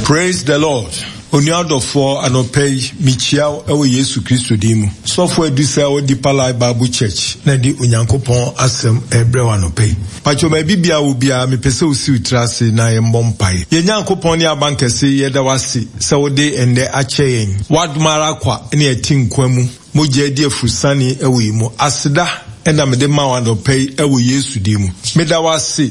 Praise the Lord. Onua dɔfoɔ, anɔpa yi, mekyia wo wɔ Yesu Kristo din mu. Sɔfo Adu sɛ wɔ Deeper Life Bible Church na de Onyankopɔn asɛm rebrɛ wo anɔpa yi. Pakyɛ baabi biara wɔ biara, mepɛ sɛ wosi wo tiri ase na yɛmmɔ mpaeɛ. Yɛn Nyankopɔn ne Abankɛse, yɛda wo ase sɛ wode ɛnnɛ akyɛ yɛn. W'adom ara kwa na yɛte nkwa mu. Mogya adi afurusane wɔ yɛn mu. Aseda na mede ma wo anɔpa yi wɔ Yesu din mu. Meda wo ase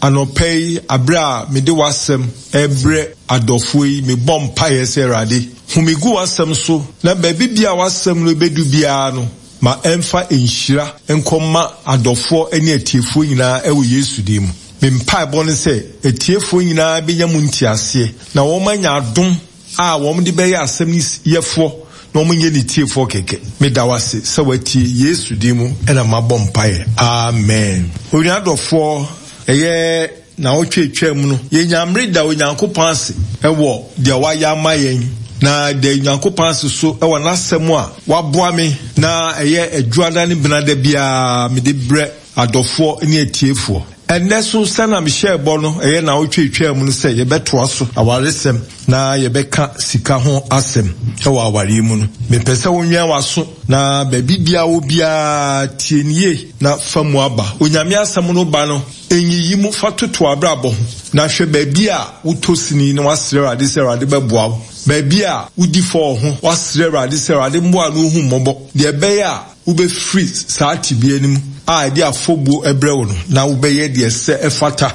anɔpa yi bere a mede w'asɛm rebrɛ adɔfoɔ yi. Mebɔ mpaeɛ sɛ, Awurade, hu me gu w'asɛm so, na baabi biara a w'asɛm no bɛdu biara no, ma ɛmfa nhyira nkɔma adɔfoɔ ne atiefoɔ nyinaa wɔ Yesu din mu. Me mpaebɔ ne sɛ atiefoɔ nyinaa bɛnya mu nteaseɛ na wɔanya adom a wɔde bɛyɛ asɛm no yɛfoɔ na wɔnyɛ ne tiefoɔ kɛkɛ. Meda wo ase sɛ woatie. Yesu din mu na mabɔ mpaeɛ. Amen. Onua dɔfoɔ, ɛyɛ naawɔtwe a ɛtwaa mu no, yɛnyaa mmere da Onyankopɔn ase wɔ deɛ wayɛ ama yɛn, na da Onyankopɔn ase so wɔ n'asɛm a waboa me na ɛyɛ Adwuada ne Benada biara mede brɛ adɔfoɔ ne atiefoɔ. Ɛnnɛ so, sɛnea mehyɛɛ bɔ no, ɛyɛ naawɔtwe a etwaa mu no sɛ yɛbɛtoa so awaresɛm na yɛbɛka sika ho asɛm wɔ awareɛ mu no. Mepɛ sɛ wonwɛn w'aso na baabi biara wɔ biara tie no yie na fa mu aba. Onyame asɛm no ba no, nyiyi mu, fa toto w'abrabɔ ho na hwɛ baabi a wotɔ sini na woasrɛ Awurade sɛ Awurade bɛboa wo. Baabi a wodi fɔ wɔ ho, woasrɛ Awurade sɛ Awurade mmoa na ɔhu mmɔbɔ deɛ ɛbɛyɛ a Wobɛfiri saa tebea no mu a ɛde afɔbuo brɛ wo no, na wobɛyɛ deɛ ɛsɛ ɛfata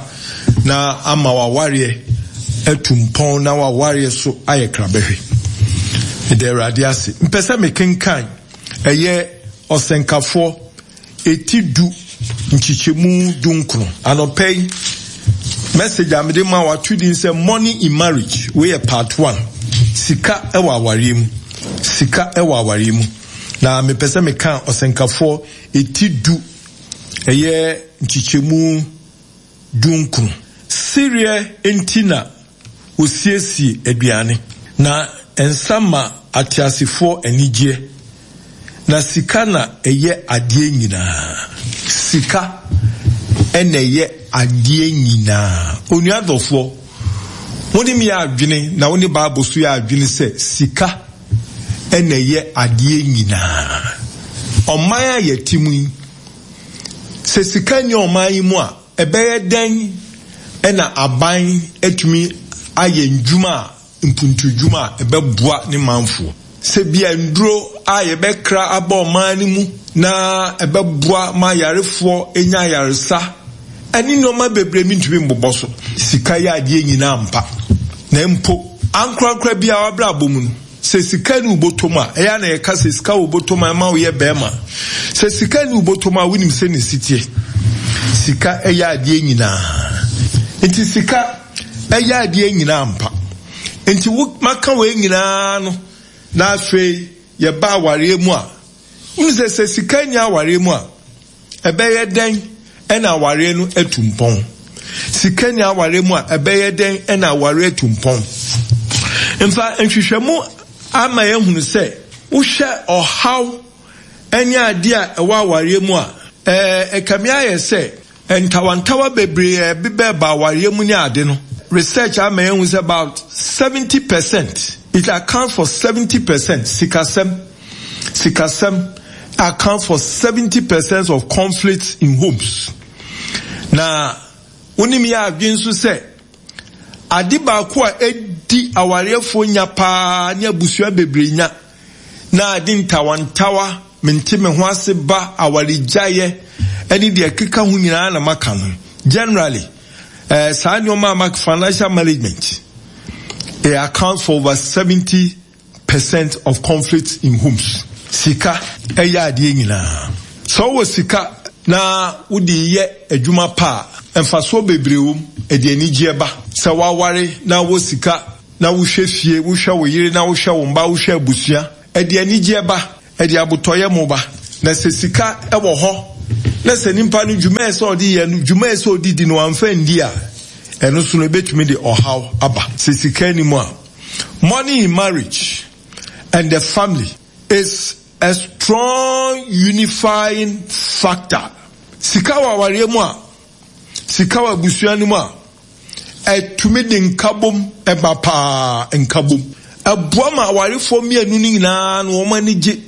na ama w'awareɛ atu mpɔn na w'awareɛ so ayɛ krabɛhwɛ. Meda Awurade ase. Mpɛ sɛ mekenkan ɛyɛ ɔsɛnkafoɔ eti du nkyekyɛmu dunkron. Anɔpa yi, message a mede ma wato din sɛ Money in Marriage. Wei yɛ part one. Sika wɔ awareɛ mu. Sika wɔ awareɛ mu. Na mepɛ sɛ meka ɔsɛnkafoɔ eti du, ɛyɛ nkyekyɛmu dunkron. Sereɛ nti na wɔsiesie aduane, na nsa ma ateasefoɔ anigyeɛ, na sika na ɛyɛ adeɛ nyinaa. Sika na ɛyɛ adeɛ nyinaa. Onua dɔfoɔ, wo ne me yɛ adwene na wo ne Bible so yɛ adwene sɛ sika na ɛyɛ adeɛ nyinaa. Ɔman a yɛte mu yi, sɛ sika nni ɔman yi mu a, ɛbɛyɛ dɛn na aban atumi ayɛ ndwuma a, mpuntudwuma a ɛbɛboa ne manfoɔ? Sɛ bia nnuro a yɛbɛkra aba ɔman no mu na ɛbɛboa ma ayarefoɔ anya ayaresa, ɛne nnoɔma bebree mentumi mbobɔ so. Sika yɛ adeɛ nyinaa ampa, na mpo ankorankora biara abrabɔ mu no, sɛ sika nni wo bɔtɔ mu a, ɛyɛ a na yɛka sɛ sika wɔ bɔtɔ mu a ɛma woyɛ bɛrima. Sɛ sika nni wo bɔtɔ mu a, wonim sɛ ne si teɛ. Sika yɛ adeɛ nyinaa. Nti sika yɛ adeɛ nyinaa ampa. Nti wo maka wei nyinaa no, na afei yɛba awareɛ mu a, wonim sɛ sɛ sika nni awareɛ mu a, Ɛbɛyɛ dɛn na awareɛ no atu mpɔn? Sika nni awareɛ mu a, ɛbɛyɛ dɛn na awareɛ atu mpɔn? Mfa nhwehwɛmu ama yɛahunu sɛ wohwɛ ɔhaw ne adeɛ a ɛwɔ awareɛ mu a, ɛkame ayɛ sɛ ntawantawa bebree a ɛbebɛɛba awareɛ mu ne ade no, research ama yɛahu sɛ about 70 percent, it accounts for 70 percent, sikasɛm. Sikasɛm account for 70 percent of conflicts in homes. Na wonim yɛ adwene nso sɛ ade baako a edi awareɛfoɔ nya paa ne abusua bebree nya na ade ntawantawa mente me ho ase ba awaregyaeɛ ɛne deɛ ɛkeka ho nyinaa na maka no generally eh, saa nneɛma a maka financial management it accounts for over 70 percent of conflicts in homes. Sika yɛ adeɛ nyinaa. Sɛ wowɔ sika na wode yɛ adwuma pa a, mfasoɔ bebree wɔ mu. Ɛde anigyeɛ ba. Sɛ woaware na wowɔ sika na wohwɛ fie, wohwɛ wo yere na wohwɛ wo mma, wohwɛ abusua, ɛde anigyeɛ ba, ɛde abotɔyam ba. Na sɛ sika wɔ hɔ na sɛ nipa no dwuma a ɛsɛ ɔde yɛ no, dwuma a ɛsɛ ɔde di no wamfa andi a, ɛno so no ɛbɛtumi de ɔhaw aba. Sɛ sika nni mu a, Money in marriage and the family is a strong unifying factor. Sika wɔ awareɛ mu a, sika wɔ abusua no mu a, Ɛtumi de nkabom ba paa, nkabom. Ɛboa ma awarefoɔ mmienu no nyinaa no wɔn ani gye,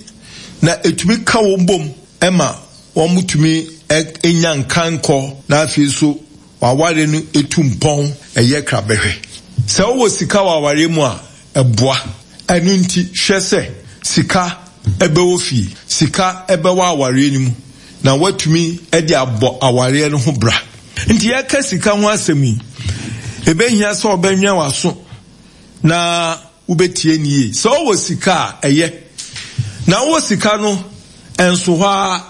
na ɛtumi ka wɔn bom ma wɔtumi nya nkankɔ, na afei nso w'awareɛ no tu mpɔn, ɛyɛ krabɛhwɛ. Sɛ wowɔ sika wɔ awareɛ mu a, ɛboa. Ɛno nti, hwɛ sɛ sika bɛwɔ fie, sika bɛwɔ awareɛ no mu, na woatumi de abɔ awareɛ no ho bra. Nti yɛka sika ho asɛm yi, ɛbɛhia sɛ wobɛnwɛn w'aso na wobɛtie no yie. Sɛ wowɔ sika a, ɛyɛ. Na wowɔ sika no, ɛnso hɔ ara.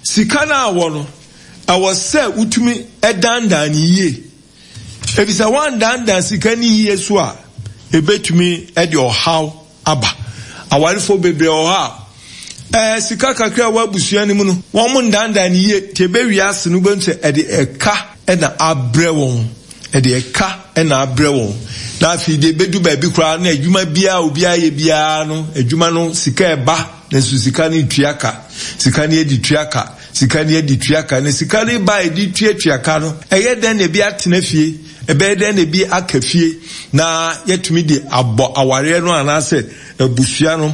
Sika no a wɔ no, ɛwɔ sɛ wotumi dandan no yie. Efisɛ woandandan sika no yie so a, ebetumi de ɔhaw aba. Awarefo bebree wɔ hɔ a, ɛɛ sika kakra a ɛwɔ abusua no mu no, wɔn ndandan no yie. Nti ebewie ase no, wobɛhu sɛ ɛde ɛka na abrɛ wɔn. Ɛde ɛka na abrɛ wɔn. Na afei deɛ ebedu baabi koraa na adwuma biara a obiara yɛ biara no, adwuma no sika ɛba, nanso sika no ntua ka. Sika no yɛde tua ka. Sika no yɛde tua ka. Na sika no ba a yɛde tuatua ka no, ɛyɛ dɛn na ebi atena fie? Ɛbɛyɛ dɛn na ebi aka fie na yɛatumi de abɔ awareɛ no anaasɛ abusua no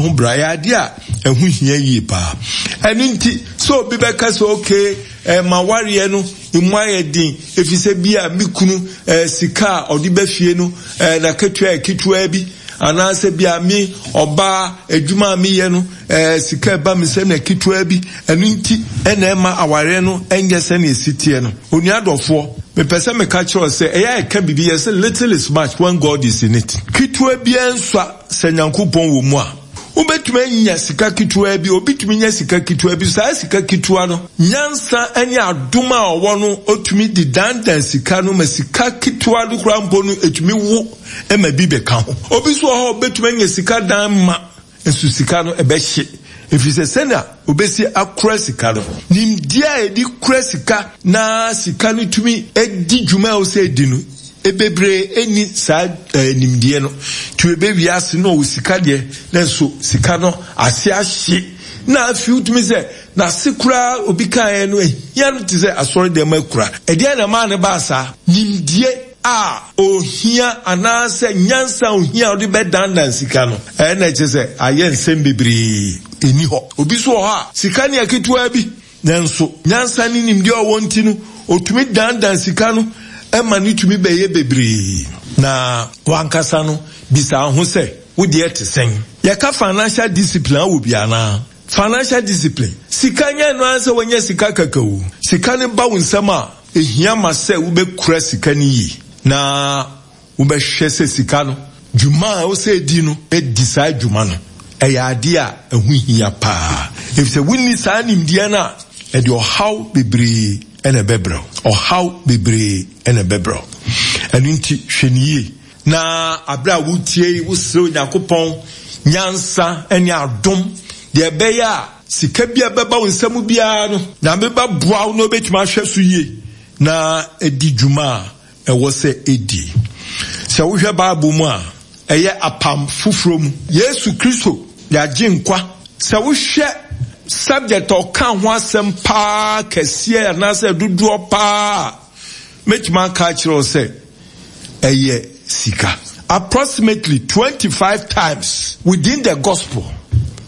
ho bra? Ɛyɛ adeɛ a ɛho hia yie paa. Ɛno nti sɛ obi bɛka sɛ okay, m'awareɛ no emu ayɛ den efisɛ bi a me kunu sika a ɔde ba fie no n'akatua yɛ ketewaa bi, anaasɛ bi a me ɔbaa adwuma a meyɛ no sika ɛba me nsam na ketewa bi, ɛno nti na ɛma awareɛ no nyɛ sɛnea ɛsi teɛ no. Onua dɔfoɔ, mepɛ sɛ meka kyerɛ wo sɛ ɛyɛ a ɛka biribi yɛ sɛ little is much when God is in it. Ketewa biara nsua sɛ Nyankopɔn wɔ mu a. Wobɛtumi anya sika ketewa bi, obi tumi nya sika ketewa bi, saa sika ketewa no, nyansa ne adom a ɔwɔ no, ɔtumi de dandan sika no ma sika ketewa no koraa mpo no, ɛtumi wo ma bi bɛka ho. Obi nso wɔ hɔ a, ɔbɛtumi anya sika dan ma, nso sika no ɛbɛhye, ɛfiri sɛ sɛnea ɔbɛsi akora sika no, nimdeɛ a yɛde kura sika na sika no tumi di dwuma a ɛwɔ sɛ ɛdi no, bebree nni saa nimdeɛ no. Nti ɛbɛ wiase no ɔwɔ sika deɛ, nanso sika no ase ahye. Na afei wotumi sɛ n'ase koraa obi kaeɛ no ahia no te sɛ asɔre dɛm akura. Ɛdeɛn na ɛmaa no baa saa? Nimdeɛ a ohia anaasɛ nyansa a ohia a ɔde bɛdandan sika no, ɛna ɛkyerɛ sɛ ayɛ nsɛm bebree nni hɔ. Obi nso wɔ hɔ a, sika no yɛ ketewaa bi, nanso nyansa ne nimdeɛ a ɔwɔ nti no, otumi dandan sika no ma no tumi bɛyɛ bebree. Na w'ankasa no, bisa wo ho sɛ, wo deɛ te sɛn? Yɛka financial discipline a, wowɔ bi anaa? Financial discipline, Sika nyɛ ɛno ara sɛ woanya sika kɛkɛ o. Sika no ba wo nsam a, ehia ma sɛ wobɛkura sika no yie na wobɛhwɛ sɛ sika no, dwuma a ɛwɔ sɛ ɛdi no, adi saa dwuma no. Ɛyɛ adeɛ a ɛho hia paa, efisɛ wonni saa nimdeɛ no a, ɛde ɔhaw bebree na ɛbɛbrɛ wo. Ɔhaw bebree na ɛbɛbrɛ wo. Ɛno nti, hwɛ no yie. Na bere a woretie yi, wosrɛ Onyankopɔn nyansa ne adom, deɛ ɛbɛyɛ a sika bi a ɛbɛba wo nsam biara no, Nyame bɛboa wo na wobɛtumi ahwɛ so yie na adi dwuma a ɛwɔ sɛ ɛdi. Sɛ wohwɛ Bible mu a, ɛyɛ apam foforɔ mu. Yesu Kristo yɛagye nkwa. Sɛ wohwɛ subject a ɔka ho asɛm paa kɛseɛ anaasɛ dodoɔ paa a, mɛtumi aka akyerɛ wo sɛ ɛyɛ sika. Approximately 25 times within the gospel,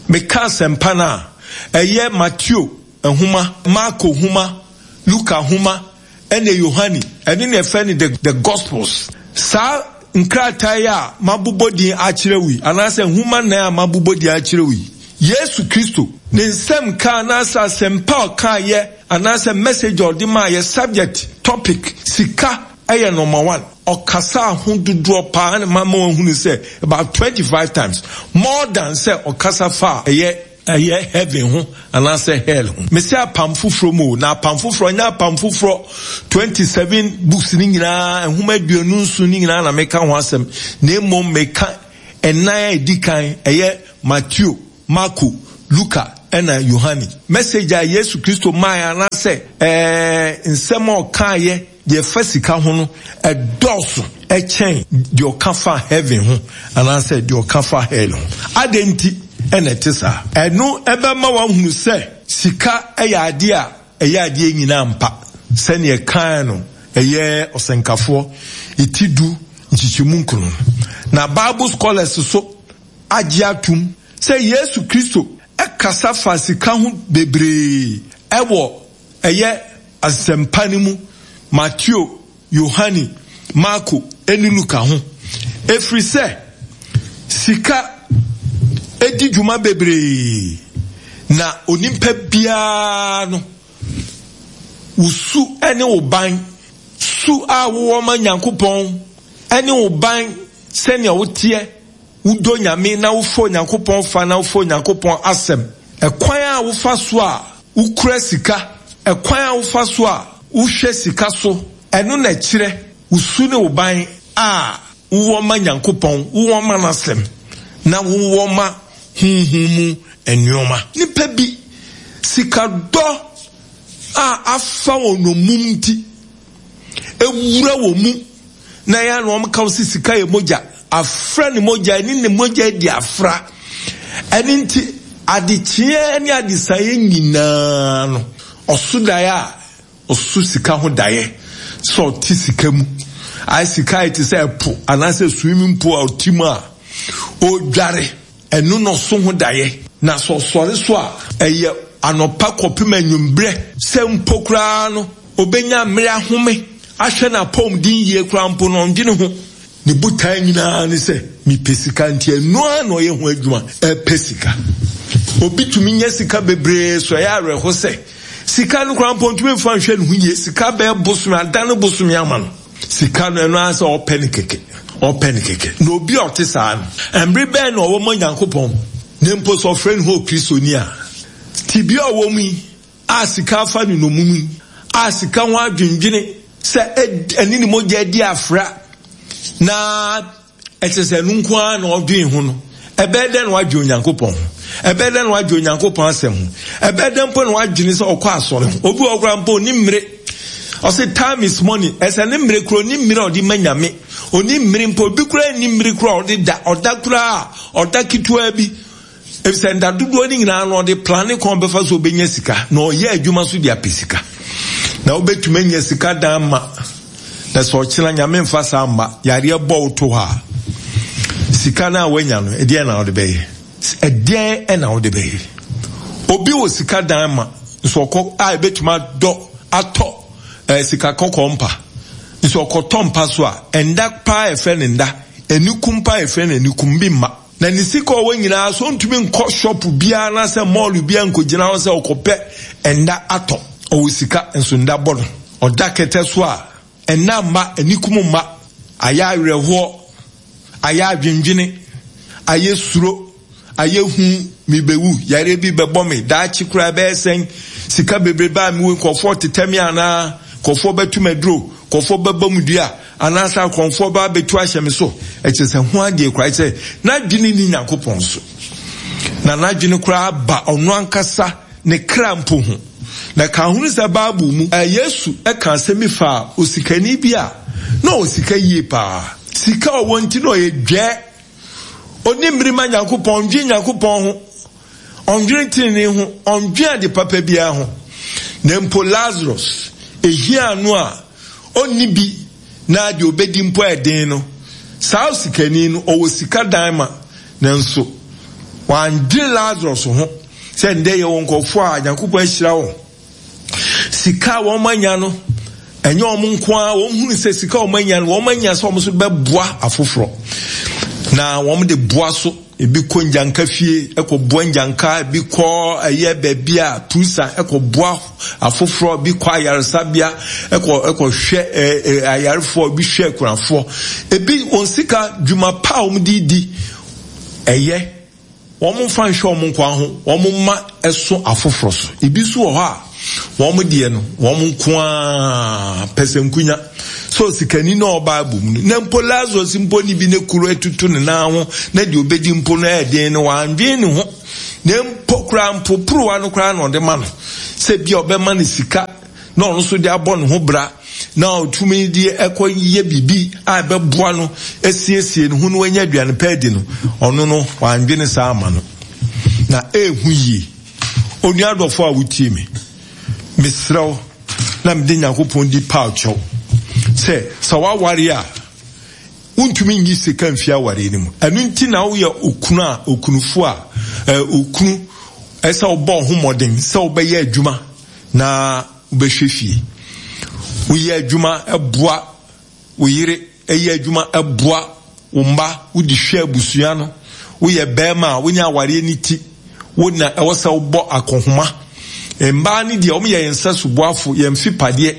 meka asɛmpa no a, ɛyɛ Mateo nhoma, Marko nhoma, Luka nhoma, ɛne Yohane, ɛno na yɛfrɛ no the, the gospels. Saa nkrataa yi a mabobɔ din akyerɛ wo yi, anaasɛ nhoma nnan a mabobɔ din akyerɛ wo yi, Yesu Kristo, ne nsɛm ka anaasɛ asɛmpa a ɔkaeɛ anaasɛ message a ɔde maayɛ, subject, topic, sika ɛyɛ number one. Ɔkasaa ho dodoɔ paa na mama wahunu sɛ about 25 times more than sɛ ɔkasa fa a ɛyɛ ɛyɛ heaven ho anaasɛ hell ho. Mese apam foforɔ mu o, na apam foforɔ nyɛ apam foforɔ 27 books no nyinaa, nwoma 27 no nyinaa na meka ho asɛm, na mmom meka ɛnan a ɛdi kan, ɛyɛ Mateo, Marko, Luka, ɛna Yohane. Message a Yesu Kristo maeɛ anaasɛ ɛɛ nsɛm a ɔkaeɛ deɛ ɛfa sika ho no ɛdɔɔso kyɛn deɛ ɔka fa heaven ho anaasɛ deɛ ɔka fa hell ho. Adɛn nti na ɛte saa? Ɛno ɛbɛma wahunu sɛ sika yɛ adeɛ a ɛyɛ adeɛ nyinaa mpa sɛdeɛ ɛkae no. Ɛyɛ Ɔsɛnkafoɔ ti du nkyekyɛmu nkono no. Na Bible scholars so agye atom sɛ Yesu Kristo kasa faa sika ho bebree wɔ ɛyɛ Asɛmpa no mu, Mateo, Yohane, Marko ne Luka ho, ɛfiri sɛ sika di dwuma bebree na onipa biara no wo su ne wo ban, su a wowɔ ma Nyankopɔn ne wo ban sɛnea woteɛ, wodɔ Nyame na wofa Onyankopɔn fa na wofa Onyankopɔn asɛm, ɛkwan a wofa so a wokura sika, ɛkwan a wofa so a wohwɛ sika so, ɛno na ɛkyerɛ wo su ne wo ban a wowɔ ma Nyankopɔn, wowɔ ma N'asɛm, na wowɔ ma honhom mu nneɛma. Nnipa bi, sikadɔ a afa wɔn nnommum nti, awura wɔn mu, na ɛyɛ a na wɔka sɛ sika yɛ mogya, afra ne mogya, ɛne ne mogya adi afra. Ɛno nti, adekyeɛ ne adesaeɛ nyinaa no, ɔso daeɛ a, ɔso sika ho daeɛ sɛ ɔte sika mu. Ayɛ sika ayɛ te sɛ ɛpo anaasɛ swimming pool a ɔte mu a, ɔredware. Ɛno na ɔso ho daeɛ. Na sɛ ɔsɔre so a, ɛyɛ anɔpa kɔpem anwummerɛ. Sɛ mpo koraa no, ɔbɛnya mmerɛ ahome ahwɛ n'apɔmuden yie koraa mpo no, ɔndwene ho. Ne botaeɛ nyinaa ne sɛ, mepɛ sika nti ɛno ara na ɔyɛ ho adwuma, ɛpɛ sika. Obi tumi nya sika bebree so ɛyɛ awerɛho sɛ, sika no koraa mpo ɔntumi mfa nhwɛ ne ho yie. Sika bɛyɛ bosome, adane bosome ama no. Sika no, ɛno ara sɛ ɔpɛ no kɛkɛ, ɔpɛ no kɛkɛ. Na obi a ɔte saa no, mmere bɛn na ɔwɔ ma Nyankopɔn? Na mpo sɛ ɔfrɛ ne ho Okristoni a, tebea a ɔwɔ mu yi, a sika afa no nnommum yi, a sika ho adwendwene sɛ ɛne ne mogya adi afra, na Ɛkyerɛ sɛ ɛno nko ara na ɔdwen ho no, ɛbɛyɛ dɛn na wadwen Onyankopɔn ho? Ɛbɛyɛ dɛn na wadwen Onyankopɔn asɛm ho? Ɛbɛyɛ dɛn mpo na wadwene sɛ ɔkɔ asɔre ho? Obi wɔ hɔ koraa mpo ɔni mmere. Ɔse time is money. Ɛsɛ ne mmere koraa ɔni mmere a ɔde ma Nyame. Ɔni mmere mpo. Obi koraa nni mmere koraa a ɔde da. Ɔda koraa a, ɔda ketewa bi. Efisɛ nda dodoɔ no nyinaa no ɔde plane kwan ɔbɛfa so ɔbɛnya sika na ɔyɛ adwuma so de apɛ sika. Na wobɛtumi anya sika dan ma na sɛ ɔkyena Nyame mfa saa mma yareɛ bɔ wo to hɔ a, sika no a woanya no ɛdeɛn na wode bɛyɛ? Ɛdeɛn na wode bɛyɛ? Obi wɔ sika dan ma nso ɔkɔ a ɛbɛtumi adɔ atɔ eh, sika kɔkɔɔ mpa nso ɔkɔtɔ mpa so a ɛnda paa ɛfrɛ no nda, anikum paa ɛfrɛ no anikum bi mma. Na ne sika a ɔwɔ nyinaa so ɔntumi nkɔ shop biara anaasɛ mall biara nkɔgyina hɔ sɛ ɔkɔpɛ nna atɔ. Ɔwɔ sika nso nna bɔ no. Ɔda kɛtɛ so a, nna mma, anikum mma. Ayɛ awerɛhoɔ, ayɛ adwendwene, ayɛ suro, ayɛ hu, mebɛwu, yareɛ bi bɛbɔ me, daakye koraa ɛbɛyɛ sɛn, sika bebrebe a mewɔ yi nkurɔfoɔ tetɛ me anaa, nkurɔfoɔ bɛto me aduro, nkurɔfoɔ bɛbɔ me dua. Anaasɛ akɔmfoɔ ba abɛtu ahyɛ me so. Ɛkyerɛ sɛ ho adeɛ koraa sɛ n'adwene nni Nyankopɔn so. Na n'adwene koraa ba ɔno ankasa ne kra mpo ho. Na ka ho sɛ Bible mu, Yesu ka asɛm bi faa osikani bi a na ɔwɔ sika yie paa. Sika a ɔwɔ nti na ɔyɛ dwɛɛ. Ɔnni mmere ma Nyankopɔn, ɔndwen Nyankopɔn ho. Ɔndwene tenenee ho, ɔndwen ade papa biara ho. Na mpo Lazarus, ehiaa no a onni bi na deɛ obedi mpo yɛ den no, saa osikani no, ɔwɔ sika dan ma, nanso wandwene Lazarus ho sɛ ndɛ yɛwɔ nkurɔfoɔ a Nyankopɔn ahyira wɔn. Sika a wɔn anya no, ɛnyɛ wɔn nko ara, wɔn hunu sɛ sika a wɔn anya no, wɔn anya sɛ wɔn nso bɛboa afoforɔ. Na wɔn de boa so, ebi kɔ ngyanka fie, ɛkɔ boa ngyanka, ebi kɔ ɛyɛ baabi a tusa, ɛkɔ boa afoforɔ, ebi kɔ ayaresabea, ɛkɔ ɛkɔ hwɛ ɛɛ ɛ ayarefoɔ, ebi hwɛ akunafoɔ, ebi wɔn sika dwuma pa a wɔn de di ɛyɛ. Wɔmfa nhwɛ wɔn nko ara ho, wɔmma ɛso afoforɔ so. Ebi nso wɔ hɔ a, wɔn deɛ no, wɔn nko ara pɛsɛnkonya. Sɛ osikani na ɔwɔ Bible mu no, na mpo Lazarus mpo ne bi ne kuro atutu ne nan ho, na deɛ ɔbɛdi mpo no ɛyɛ den no, wandwen ne ho. Na mpo koraa mpo porowa no koraa na ɔde ma no, sɛ bi a ɔbɛma no sika na ɔno nso de abɔ ne ho bra na ɔtumi de ɛkɔ yɛ biribi a ɛbɛboa no asiesie ne ho na wanya aduane pa adi no, ɔno no wandwene saa ama no. Na ɛɛhu yie. Onua adɔfo a wotie me, mesrɛ wo na mede Nyankopɔn di paw kyɛw. sɛ, sɛ woaware a, wontumi nyi sika mfi awareɛ no mu. Ɛno nti na woyɛ okunu a, okunufo a, okunu, ɛsɛ sɛ wobɔ wo ho mmɔden sɛ wobɛyɛ adwuma na wobɛhwɛ fie. Woyɛ adwuma boa wo yere, yɛ adwuma boa wo mma, wode hwɛ abusua no. Woyɛ bɛrima a, wonya awareɛ no ti, wo na ɛwɔ sɛ wobɔ akɔnhoma. Mmaa no deɛ, wɔn yɛ yɛn nsa soboafo, yɛn mfipadeɛ.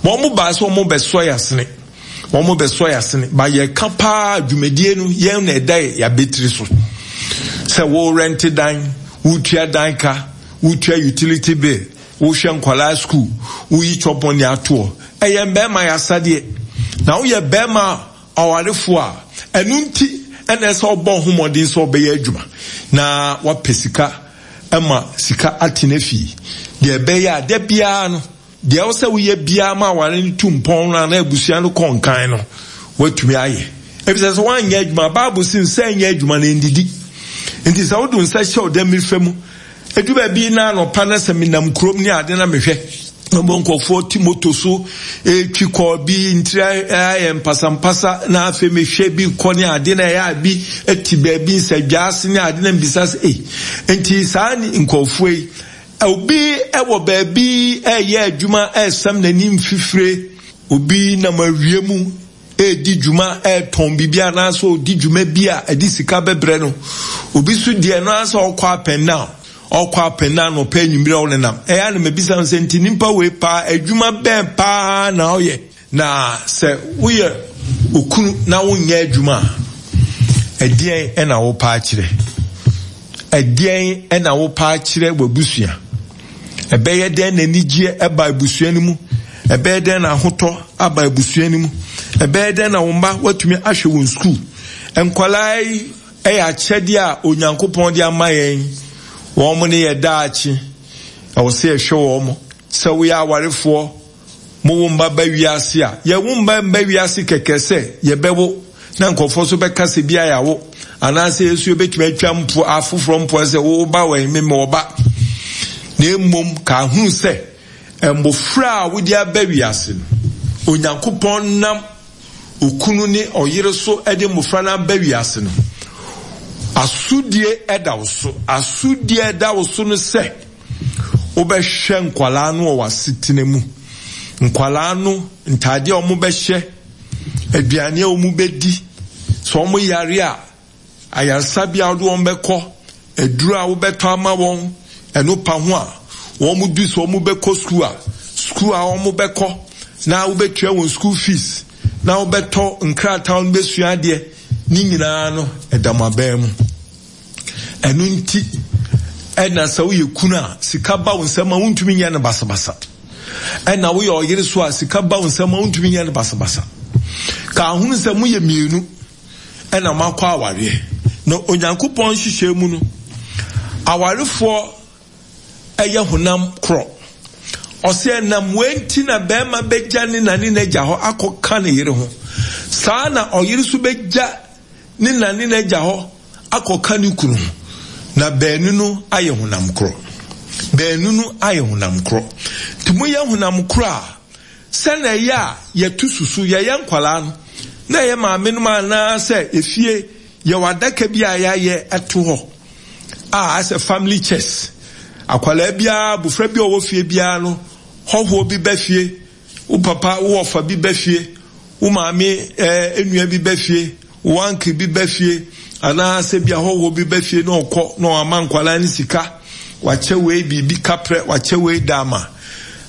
Wɔn baa sɛ wɔn bɛsɔ yɛn asene, wɔn bɛsɔ yɛn asene. Ba yɛka paa dwumadie no, yɛn na ɛda yɛn abɛtiri so. Sɛ wo rɛnte dan, wotua dan ka, wotua utility bill, Wohwɛ nkwadaa sukuu, woyi chop money atoɔ. Ɛyɛ mmarima yɛ asadeɛ. Na woyɛ barima ɔwarefoɔ a, ɛno nti ɛna ɛsɛ ɔbɔ ho mmɔden sɛ ɔbɛyɛ adwuma na wapɛ sika ma sika atena fie. Deɛ ɛbɛyɛ a da biara no, deɛ ɛwɔ sɛ woyɛ biara ma aware no tu mpɔn no anaa abusua no kɔ nkan no, woatumi ayɛ. Efisɛ sɛ woanyɛ adwuma, Bible se nsa nyɛ adwuma na ɛndidi. Nti sɛ wode wo nsa hyɛ wo dɛm fa mu Edu baabi na anɔpa na sɛ menam kurom ne ade na mehwɛ na mbɔ nkurɔfoɔ te moto so retwi kɔ bi ntiri ayɛ mpasampasa na afei mehwɛ bi kɔ ne ade na ɛyɛ a bi te baabi nsadwa ase ne ade na mbisa sɛ ei nti saa nkurɔfoɔ yi obi wɔ baabi ɛreyɛ adwuma ɛresam n'ani mfifire obi nam awia mu redi dwuma retɔn biribi anaasɛ ɔredi dwuma bi a ɛde sika bɛbrɛ no. Obi nso deɛ no ara sɛ ɔkɔ up and down, ɔkɔ up and down ɔpɛ anwummerɛ ɔnenam. Ɛyɛ a na mabisa no sɛ nti nipa wei paa adwuma bɛn paa na ɔyɛ? Na sɛ woyɛ okunu na wonyɛ adwuma a, ɛdeɛn na wopɛ akyerɛ? Ɛdeɛn na wopɛ akyerɛ w'abusua? Ɛbɛyɛ dɛn na anigyeɛ aba abusua no mu? Ɛbɛyɛ dɛn na ahotɔ aba abusua no mu? Ɛbɛyɛ dɛn na wo mma woatumi ahwɛ wɔn sukuu? Nkwadaa yi yɛ akyɛdeɛ a Onyankopɔn de ama yɛn. Wɔn ne yɛ daakye. Ɛwɔ sɛ yɛhwɛ wɔn. Sɛ woyɛ awarefoɔ, Mowo mma ba wiase a, yɛwo mma mma wiase kɛkɛ sɛ yɛbɛwo na nkurɔfoɔ nso bɛka sɛ bi a yɛawo anaasɛ yɛn nso yɛbɛtumi atwa mpo afoforɔ mpoa sɛ wo ba wɔ me mewɔ ba. Na mmom ka hunu sɛ mmofra a wode aba wiase no, Onyankopɔn nam okunu ne ɔyere so de mmofra no aba wiase no, asodie da wo so. Asodie a ɛda wo so no sɛ Wobɛhwɛ nkwadaa no wɔ w'asetena mu. Nkwadaa no, ntaadeɛ a wɔbɛhyɛ, aduane a wɔbɛdi, sɛ wɔyare a, ayaresabea a wode wɔn bɛkɔ, aduro a wobɛtɔ ama wɔn, ɛno pa ho a, wɔn du sɛ wɔbɛkɔ sukuu a, sukuu a wɔbɛkɔ, na wobɛtua wɔn school fees, na wobɛtɔ nkrataa a wɔbɛsua adeɛ, ne nyinaa no, ɛda mo abɛn mu. Ɛno nti ɛna sɛ woyɛ kunu a sika ba wo nsam a wontumi nyɛ no basabasa. Ɛna woyɛ ɔyere so a sika ba wo nsam a wontumi nyɛ no basabasa. Ka ahunu sɛ moyɛ mmienu ɛna moakɔ awareɛ. Na Onyankopɔn nhyehyɛe mu no, awarefoɔ ɛyɛ honam korɔ. Ɔsɛ ɛnam wei nti na bɛrima bɛgya ne na ne n'agya hɔ akɔka ne yere ho. Saa na ɔyere nso bɛgya ne na ne n'agya hɔ akɔka ne kunu ho, na baanu no ayɛ honam korɔ. Baanu no ayɛ honam korɔ. Nti moyɛ honam korɔ a, sɛnea ɛyɛ a yɛto susu, yɛyɛ nkwadaa no, na ɛyɛ maamenom anaasɛ efie yɛwɔ adaka bi a yɛayɛ ato hɔ a asɛ family chest. Akwadaa biara, abofra bi a ɔwɔ fie biara no, hɔhoɔ bi ba fie, Wo papa, wo wɔfa bi ba fie, wo maame eh, nua bi ba fie, wo uncle bi ba fie, anaasɛ bi ahɔhoɔ bi ba fie na ɔkɔ na ɔama nkwadaa no sika, wakyɛ wei biribi kaprɛ, wakyɛ wei daama.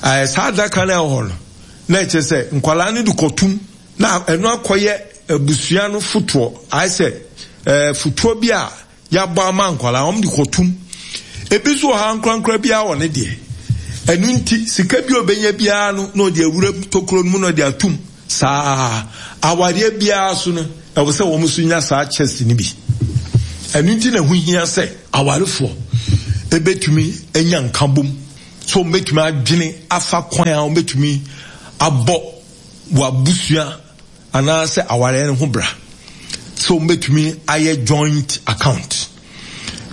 Eh, saa adaka no ɛwɔ hɔ no, na ɛkyerɛ sɛ nkwadaa no de kɔtum na ɛno akɔyɛ abusua no fotoɔ, ayɛ sɛ eh, fotoɔ bi a Yɛabɔ ama nkwadaa, wɔn de kɔtum. Ebi nso wɔ ha ankorankora biara wɔ ne deɛ. Ɛno nti, sika bi a ɔbɛnya biara no, na ɔde awura tokuro no mu na ɔde atum. Saa awareɛ biara so no, ɛwɔ sɛ wɔn nso nya saa chest no bi. Ɛno nti na ɛho hia sɛ awarefoɔ ɛbɛtumi anya nkabom, sɛ wɔbɛtumi adwene afa kwan a wɔbɛtumi abɔ wɔn abusua anaasɛ awareɛ no ho bra sɛ wɔbɛtumi ayɛ joint account.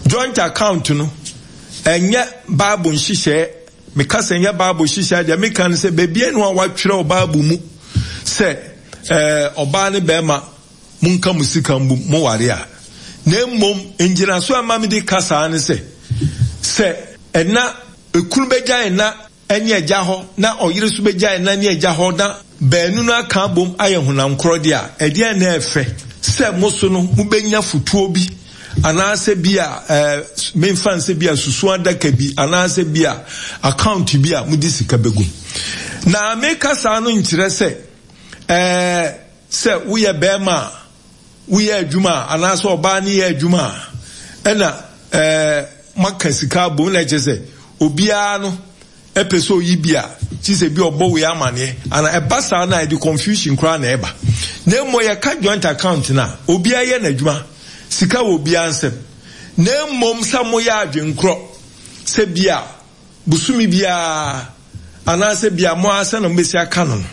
Joint account no, ɛnyɛ Bible nhyehyɛɛ. Meka sɛ ɛnyɛ Bible nhyehyɛɛ deɛ meka no sɛ baabi no a wɔatwerɛ wɔ Bible mu. sɛ ɛɛ ɔbaa ne bɛrima monka mo sika mbom moware a. Na mmom ngyinaso a ɛma mede ka saa ne sɛ, sɛ ɛna ekunu bɛgya ɛna ne agya hɔ na ɔyere nso bɛgya ɛna ne agya hɔ na baanu no aka abom ayɛ honam korɔ deɛ a, ɛdeɛn na ɛfɛ sɛ mo so no mobɛnya fotuo bi anaasɛ bi a ɛɛ memfa nsɛ bi a susu adaka bi anaasɛ bi a account bi a mode sika bɛgum. Na meka saa no nkyerɛ sɛ ɛɛ Sɛ woyɛ barima a woyɛ adwuma a anaasɛ ɔbaa no yɛ adwuma a, ɛna ɛɛ moaka sika abom na ɛkyerɛ sɛ obiara no ɛpɛ sɛ oyi bi a kyi sɛ bi ɔbɔ wei amaneɛ ana ɛba saa no a ɛde confusion koraa na ɛba. Na mmom yɛka joint account no a obiara yɛ n'adwuma, sika wɔ obiara nsam. Na mmom sɛ moyɛ adwenkorɔ sɛ bi a bosome biara anaasɛ bi a mo ara sɛnea mobɛsi aka no no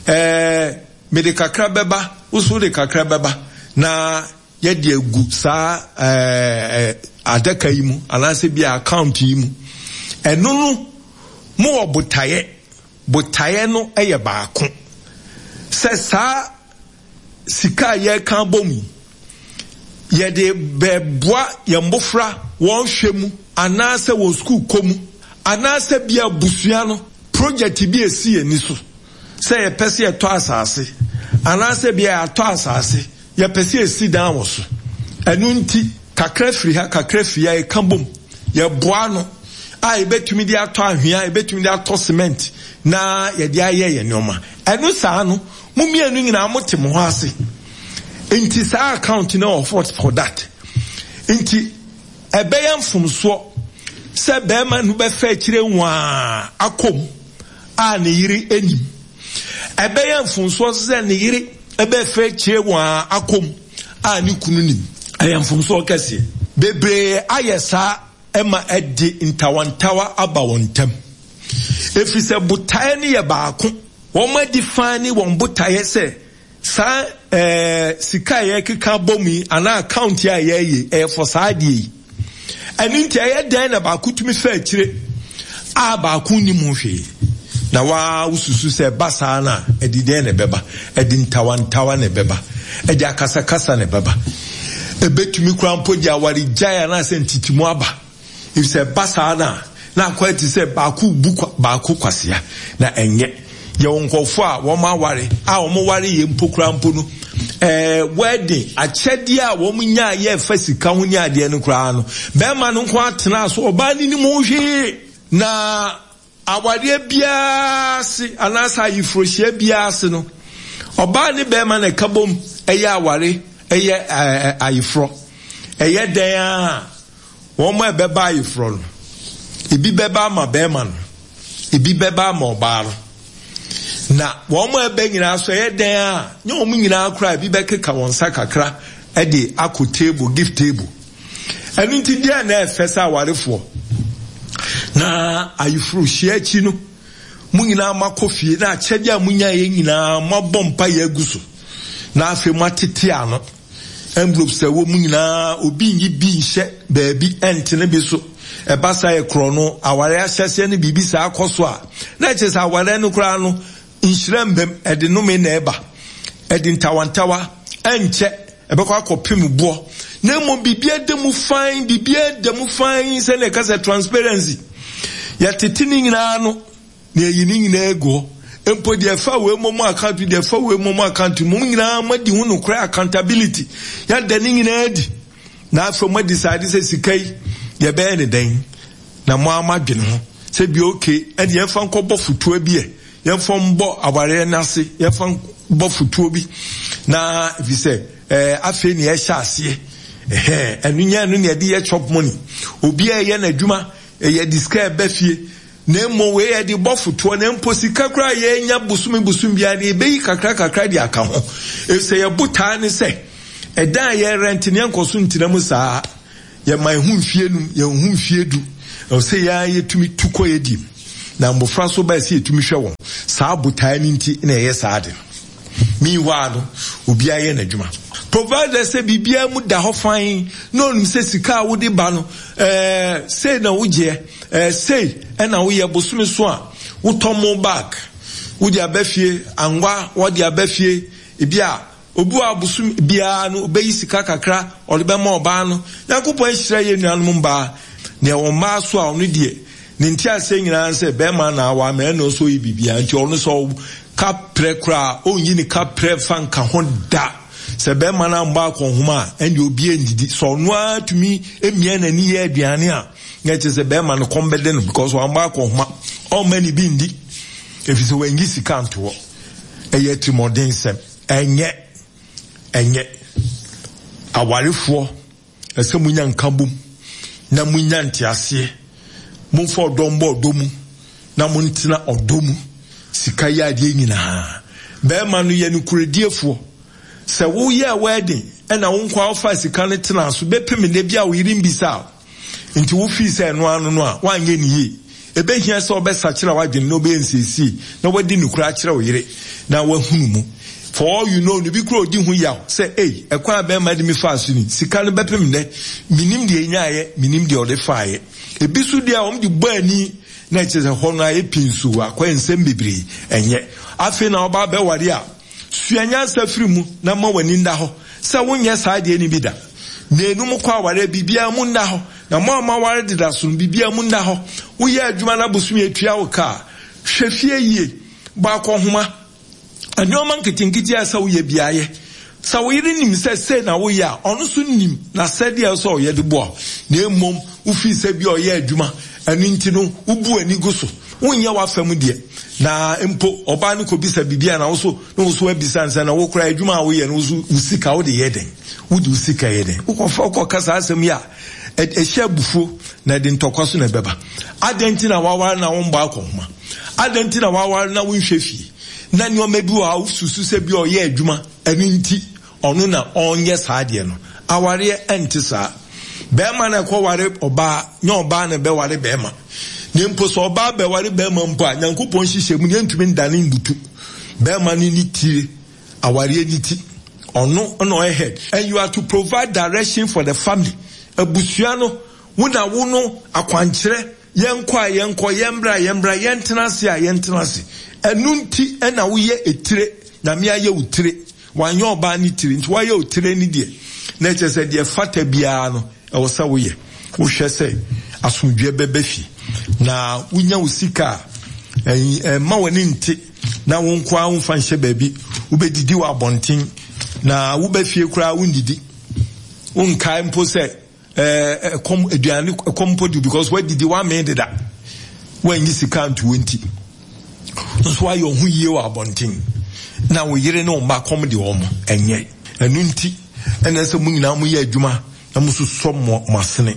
ɛɛ Mede kakra bɛba, wo nso wode kakra bɛba, na yɛde agu saa ɛɛ adaka yi mu anaasɛ bi a account yi mu. Ɛno no, mowɔ botaeɛ. Botaeɛ no yɛ baako. Sɛ saa sika a yɛreka abom yi, yɛde bɛboa yɛn mmofra wɔn hwɛ mu anaasɛ wɔn sukuu kɔ mu anaasɛ bi abusua no project bi a ɛsi yɛn ani so. Sɛ yɛpɛ sɛ yɛtɔ asase, anaasɛ ebia yɛatɔ asase, yɛpɛ sɛ yɛsi dan wɔ so. Ɛno nti, kakra firi ha, kakra firi ha, yɛka bom, yɛboa ano a yɛbɛtumi de atɔ ahwea, yɛbɛtumi de atɔ cement na yɛde ayɛ yɛn nneɛma. Ɛno saa no, mo mmienu nyinaa mote mo ho ase. Nti saa account no wɔ for that. Nti ɛbɛyɛ mfomsoɔ sɛ bɛrima no bɛfa akyire nwaa akɔ mu. a ne yere nnim. Ɛbɛyɛ mfomsoɔ nso sɛ ne yere bɛfa akyire wɔn ara akɔ mu a ne kunu nim. Ɛyɛ mfomsoɔ kɛseɛ. Bebree ayɛ saa ma ɛde ntawantawa aba wɔn ntam. Ɛfiri sɛ botaeɛ no yɛ baako. Wɔadi fann ne wɔn botaeɛ sɛ Saa ɛɛ sika a yɛkeka abɔ mu yi anaa account a yɛyɛ yi ɛyɛ for saa adeɛ yi. Ɛno nti ɛyɛ dɛn na baako tumi fa akyire a baako nnim ho hwee? Na waa wosusu sɛ ɛba saa no a ɛde dɛn na ɛbɛba? Ɛde ntawantawa na ɛbɛba. Ɛde akasakasa na ɛbɛba. Ɛbɛtumi koraa mpo de awaregyae anaasɛ ntitimu aba. Efisɛ ɛba saa no a, na akɔyɛ te sɛ baako rebu baako kwasea, na ɛnyɛ. Yɛwɔ nkurɔfoɔ a wɔn aware a wɔn ware yɛ mpo koraa mpo no, ɛɛ wedding akyɛdeɛ a wɔn nyaa yɛ ɛfa sika ho ne adeɛ no koraa no, bɛrima no nko atena so, ɔbaa no nim ho hwee. Na Awareɛ biara ase anaasɛ ayeforɔhyia biara ase no, ɔbaa ne barima na ɛka bom yɛ aware yɛ ayeforɔ. Ɛyɛ dɛn ara a, wɔn a ɛbɛba ayeforɔ no, ebi bɛba ama barima no, ebi bɛba ama ɔbaa no. Na wɔn a ɛbɛ nyinaa so ɛyɛ dɛn a, nyɛ wɔn nyinaa koraa ebi bɛkeka wɔn nsa kakra de akɔ table, gift table. Ɛno nti deɛn na ɛfɛ sɛ awarefoɔ na ayeforohyia akyi no mo nyinaa moakɔ fie na akyɛdeɛ a monyaeɛ nyinaa moabɔ mpaeɛ agu so na afei moatete ano envelopes a ɛwɔ mu nyinaa obi nyi bi nhyɛ baabi ɛntene bi so ɛba saa yɛ korɔ no aware ahyɛseɛ no biribi saa kɔ so a na ɛkyerɛ sɛ awareɛ no koraa no Nhyira mbam, ɛde nnome na ɛba, ɛde ntawantawa, ɛnkyɛ ɛbɛkɔ akɔpem boɔ, na mmom biribiara da mu fann, biribiara da mu fann, sɛnea ɛka sɛ transparency. Yɛtete ne nyinaa ano, na yɛyi ne nyinaa agu hɔ. Mpo deɛ ɛfa wei mmom account, deɛ ɛfa wei mmom account, mo nyinaa moadi ho nokorɛ, accountability, yɛada ne nyinaa adi. Na afei mo decide sɛ sika yi yɛbɛyɛ ne dɛn, na mo ara moadwene ho sɛ bi okay, ɛne yɛmfa nkɔbɔ fotoa bi ɛ. Yɛmfa mbɔ awareɛ no ase, yɛmfa mbɔ fotuo bi na ɛfiri sɛ ɛɛ afei na yɛhyɛ aseɛ ɛhɛn ɛno nyɛ ɛno na yɛde yɛ chop money. Obiara yɛ n'adwuma, yɛde sika ɛbɛ fie na mmom wei yɛde bɔ fotoɔ na mpo sika koraa yɛnya bosome bosome biara no yɛbɛyi kakra kakra de aka ho. Ɛfiri sɛ yɛ botaa ne sɛ ɛdan a yɛrɛnte no yɛnkɔ so ntena mu saa. Yɛma yɛn ho mfie num, yɛn ho mfie du. Ɛwɔ sɛ yɛn ara yɛtumi tu kɔ yɛn dim. Na mmofra nso bae sɛ yɛtumi hwɛ wɔn. Saa botae no nti na yɛyɛ saa ade no. Meanwhile no, obiara yɛ n'adwuma. Provided sɛ biribiara mu da hɔ fann na onim sɛ sika a wode ba no, ɛɛ, sei na wogyeɛ, ɛɛ, sei na woyɛ bosome so a, wotɔ mo bag. Wode aba fie, angwa wɔde aba fie, ebi a obi wɔ abosom biara no obeyi sika kakra ɔde bɛma ɔbaa no. Nyankopɔn ahyira yɛn nuanom mbaa. Nea ɛwɔ mmaa so a ɔno deɛ ne nteaseɛ nyinaa ne sɛ bɛrima na awa ma ɛna ɔsɛ ɔyɛ biribiara nti ɔno sɛ ɔka prɛ koraa ɔnyi ne ka prɛ mfa nka ho da. Sɛ bɛrima no ammɔ akɔnhoma a ɛndeɛ obiara nnidi. Sɛ ɔno ara tumi mia n'ani yɛ aduane a na ɛkyerɛ sɛ bɛrima no kɔm bɛde no because wammɔ akɔnhoma. Ɔmma ne bi nndi ɛfiri sɛ wanyi sika anto hɔ. Ɛyɛ atirimuɔdensɛm. Ɛnyɛ. Ɛnyɛ. Awarefoɔ Ɛsɛ sɛ munya nkabom na munya nteaseɛ. Momfa ɔdɔ mbɔ ɔdɔ mu na montena ɔdɔ mu. Sika yɛ adeɛ nyinaa. Bɛrima no yɛ nokorɛdiefoɔ. Sɛ woyɛɛ wedding ɛna wo nkoa wofaa sika no tenaa so bɛpem nnɛ bi a wo yere mbisaa wo nti wo fii sɛ ɛno ano no a woanyɛ no yie. Ɛbɛhia sɛ wobɛsakyera w'adwene na wobɛyɛ nsiesie na woadi nokorɛ akyerɛ wo yere na wahunu mu. For all you know no bi koraa ɔdi ho yaw sɛ ei ɛkwan a bɛrima de me faa so ni, sika no bɛpem nnɛ, mennim deɛ ɛnyaeɛ, mennim deɛ ɔde faeɛ. Ɛbi so deɛ a wɔn de bɔ ani na ɛkyerɛ sɛ hɔ no ayɛ pinsoo, akɔyɛ nsɛm bebree, ɛnyɛ afei na woba abɛware a Sua nyansa firi mu na ma w'ani nna hɔ sɛ wonyɛ saa adeɛ no bi da. Mmienu mokɔ awareɛ biribiara mu nna hɔ, na mo a moaware deda so no biribiara mu nna hɔ. Woyɛ adwuma na bosome atua wo ka a, hwɛ fie yie, bɔ akɔnhoma. Nneɛma nketenkete a ɛsɛ sɛ woyɛ biara yɛ. Sɛ wo yere nim sɛ sei na woyɛ a, ɔno nso nim n'asɛdeɛ a ɛsɛ sɛ ɔyɛ de boa wo. Na mmom wofii sɛ bi a ɔyɛ adwuma, ɛno nti no wobu w'ani gu so. Wonyɛ w'afa mu deɛ. Na mpo ɔbaa no kɔbisa biribi a na wo so na wo so abisa no sɛ na wo koraa adwuma a woyɛ no wo so wo sika wode yɛ dɛn? Wode wo sika yɛ dɛn? Wokɔfa wokɔka saa asɛm yi a ɛhyɛ abufuo na ɛde ntɔkwa so na ɛbɛba. Adɛn nti na waware na wombɔ akɔnhoma? Adɛn nti na waware na wonhwɛ fie? Na nneɛma bi wɔ hɔ a wosusu sɛ bi a ɔyɛ adwuma ɛno nti ɔno na ɔnyɛ saa adeɛ no. Awareɛ ɛnte saa. Bɛrima na ɛkɔware ɔbaa, nyɛ ɔbaa na ɛbɛware bɛrima. Na mpo sɛ ɔbaa bɛware bɛrima mpo a, Nyankopɔn nhyehyɛ mu no yɛntumi ndane mbutu. Bɛrima no ne tire, awareɛ ne ti. Ɔno na ɔyɛ head. And you are to provide direction for the family. Abusua no, wo na wo no akwankyerɛ, yɛnkɔ a yɛnkɔ, yɛmbra a yɛmbra, yɛntena ase a yɛntena ase. Ɛno nti na woyɛ etire, Nyame ayɛ wo tire. Wanyɛ ɔbaa no tire, nti wayɛ wo tire no deɛ, na ɛkyerɛ sɛ deɛ ɛfata biara no, ɛwɔ sɛ woyɛ. Wohwɛ sɛ asomdwoeɛ bɛba fie, na wonya wo sika a, ɛmma w'ani nte na wo nko ara womfa nhyɛ baabi. Wobɛdidi wɔ abɔnten, na woba fie koraa wonnidi. Wonkae mpo sɛ ɛkɔm aduane ɛkɔm mpo di because wadidi wamee deda wanyi sika nto nti nso ayɛ ɔho yie wɔ abɔnten na wo yere ne wo mma kɔm de wɔn ɛnyɛ ɛno nti ɛna sɛ mo nyinaa mo yɛ adwuma na mo sosɔ mo mo asene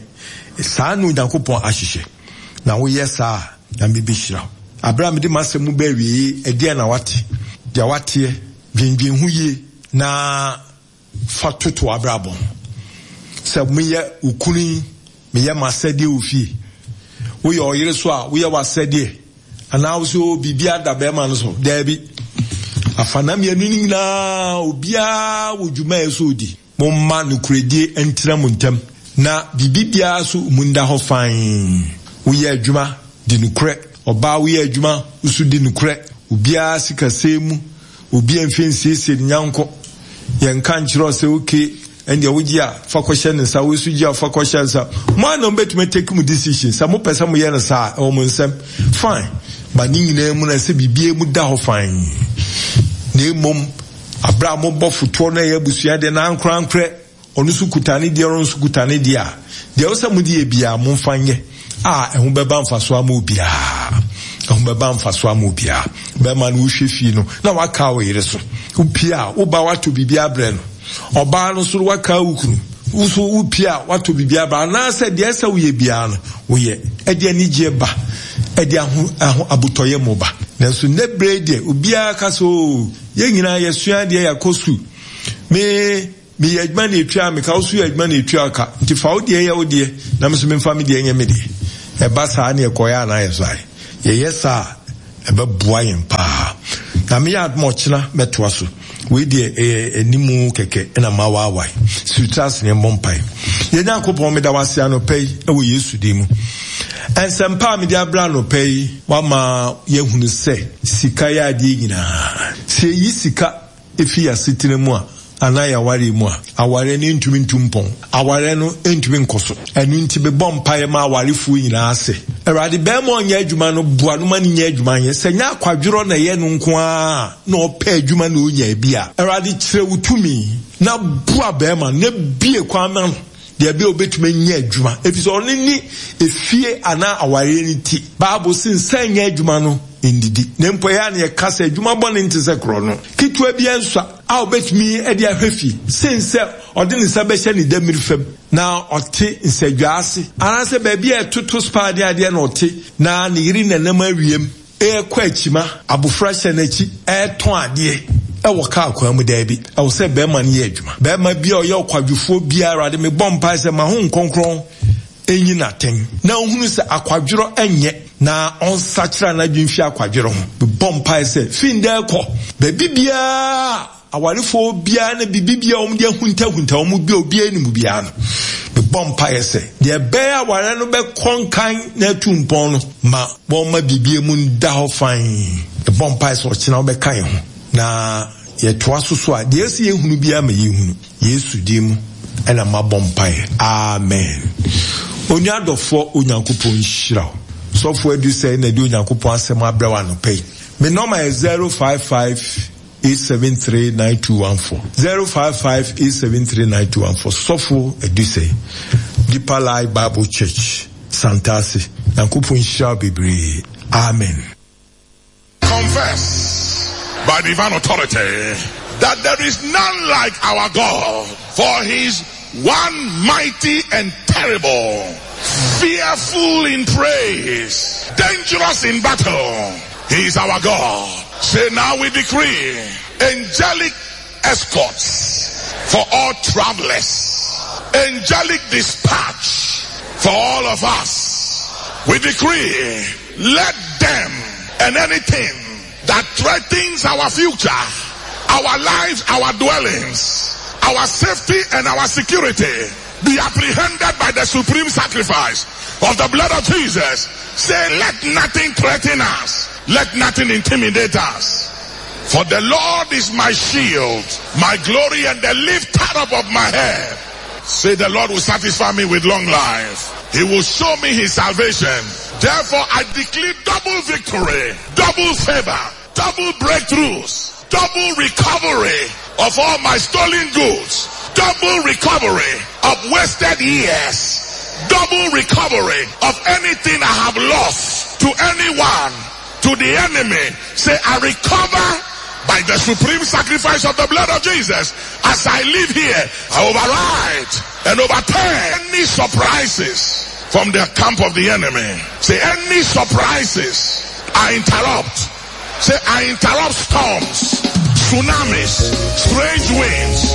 saa na Onyankopɔn ahyehyɛ na woyɛ saa a Nyame bɛhyira wo. Abere a mede m'asɛm mu bɛ awieɛ ɛdeɛn na wate deɛ wateɛ dwendwen ho yie na fa toto w'abrabɔ ho. Sɛ meyɛ wo kunu yi, meyɛ m'asɛdeɛ wɔ fie. Woyɛ ɔyere so a, woyɛ w'asɛdeɛ. Anaa wo sɛ o biribi ada bɛrima no so. Daabi. Afana mmienu no nyinaa, obiara wɔ dwuma a ɛsɛ odi. Momma nokorɛdie ntena mo ntam, na biribi biara so mu nda hɔ fann. Woyɛ adwuma, di nokorɛ. Ɔbaa woyɛ adwuma, wo so di nokorɛ. Obiara sikasɛm mu, Obi mfe nsiesie ne nyanko. Yɛnka nkyerɛ wo sɛ okay, ɛndeɛ wogye a fa kɔhyɛ ne nsa, wei nso gye a fa kɔhyɛ ne nsa. Mo ara na mobɛtumi atake mo decision. Sɛ mopɛ sɛ moyɛ no saa a, ɛwɔ mo nsam. Fine. But ne nyinaa mu no, ɛsɛ biribiara mu da hɔ fann. Na mmom, aberɛ a mobɔ fotoɔ no ɛyɛ abusua deɛ na ankorankorɛ Ɔno nso kuta ne deɛ, ɔno nso kuta ne deɛ a, deɛ ɛwɔ sɛ mode yɛ biara, momfa nyɛ, a ɛho bɛba mfasoɔ ama obiara. Ɛho bɛba mfasoɔ ama obiara. Bɛrima no wohwɛ fie no, na waka wo yere so. Wopie a, wo ba watɔ biribi abrɛ no. Ɔbaa no nso waka wo kunu. Wo nso wopie a, watɔ biribi abrɛ. Anaasɛ deɛ ɛsɛ woyɛ biara no, woyɛ. Ɛde anigyeɛ ba. Ɛde aho, aho, abotɔyɛ mu ba. Nanso nnɛ berɛ yi deɛ, obiara ka sɛ, oo, yɛn nyinaa yɛsua adeɛ, yɛakɔ sukuu. Me, Meyɛ adwuma na etua me ka, wo nso yɛ adwuma na etua wo ka. Nti fa wo deɛ yɛ wo deɛ, na me nso memfa me deɛ nyɛ me deɛ. Ɛba saa ne ɛkɔyɛ anaa yɛ saa? Yɛyɛ saa a, ɛbɛboa yɛn paa. Na meyɛ adom a ɔkyena mɛtoa so. Wei deɛ ɛyɛ animu kɛkɛ na mawaawae. Si wo tiri ase na yɛmmɔ mpae. Yɛn Nyankopɔn, meda wo ase anɔpa yi wɔ Yesu din mu. Nsɛmpa a mede abrɛ anɔpa yi, woama yɛahunu sɛ sika yɛ adeɛ nyinaa. Sɛ yɛyi sika fi yɛn asetena mu a, anaa yɛn awareɛ mu a, awareɛ no ntumi ntu mpɔn. Awareɛ no ntumi nkɔ so. Ɛno nti mebɔ mpaeɛ ma awarefoɔ nyinaa sɛ, Awurade, barima a ɔnyɛ adwuma no, boa no ma no nyɛ adwuma nyɛ. Sɛ ɛnyɛ akwadworɔ na ɛyɛ no nko ara na ɔpɛ adwuma na ɔnya bi a, Awurade, kyerɛ wo tumi na boa barima no na bue kwan ma no deɛ ɛbɛyɛ ɔbɛtumi anya adwuma, ɛfiri sɛ ɔno ne efie anaa awareɛ no ti. Bible se nsa nyɛ adwuma no ndidi, na mpo ɛyɛ a na yɛka sɛ adwuma bɔne nte sɛ korɔno. Ketewa biara nsua a ɔbɛtumi de ahwɛ fie sen sɛ ɔde ne nsa bɛhyɛ ne dammiri fam na ɔte nsadwaa ase anaasɛ baabi a ɛtoto spaa ne adeɛ na ɔte na ne yere nenam awiam rekɔ akyima, abofra hyɛ n'akyi retɔn adeɛ wɔ kaa kwan mu. Daabi, ɛwɔ sɛ barima no yɛ adwuma. Barima bi a ɔyɛ ɔkwadwofoɔ biara, Awurade, mebɔ mpae sɛ ma Honhom Kronkron nyi no atɛn na ɔnhunu sɛ akwadworɔ nyɛ na ɔnsakyera n'adwene mfi akwadworɔ ho. Mebɔ mpae sɛ fi ndɛ rekɔ, baabi biara a awarefoɔ biara ne biribi biara a wɔde ahuntahunta wɔn bi a obiara nim biara no, mebɔ mpaeɛ sɛ deɛ ɛbɛyɛ awareɛ no bɛkɔ nkan na atu mpɔn no, ma wɔmma biribiara mu nda hɔ fann. Mebɔ mpaeɛ sɛ ɔkyena wobɛka yɛn ho na yɛtoa so so a, deɛ ɛsɛ yɛhunu biara ma yɛhunu. Yesu din mu na mabɔ mpaeɛ. Amen. Onua dɔfoɔ, Onyankopɔn nhyira wo. Sɔfoɔ Adu Sɛe na ɛde Onyankopɔn asɛm abrɛ wo anɔpa yi. Me nɔma yɛ 055 873 9214. 055 873 9214. Sɔfo Adu Sɛe, Deeper Life Bible Church, Santase. Nyankopɔn nhyira wo bebree. Amen. Confess by divine authority that there is none like our God, for he is one mighty and terrible, fearful in praise, dangerous in battle. He is our God. Say now we decree angelic escorts for all travelers, angelic dispatch for all of us. We decree, let them and anything that threatens our future, our lives, our dwellings, our safety and our security be apprehended by the supreme sacrifice of the blood of Jesus. Say, let nothing threaten us. Let nothing intimidate us. For the Lord is my shield, my glory and the lifter up of my head. Say the Lord will satisfy me with long life. He will show me his salvation. Therefore I declare double victory, double favor, double breakthroughs, double recovery of all my stolen goods, double recovery of wasted years, double recovery of anything I have lost to anyone, to the enemy. Say, I recover by the supreme sacrifice of the blood of Jesus. As I live here, I override and overturn any surprises from the camp of the enemy. Say, any surprises, I interrupt. Say, I interrupt storms, tsunamis, strange winds.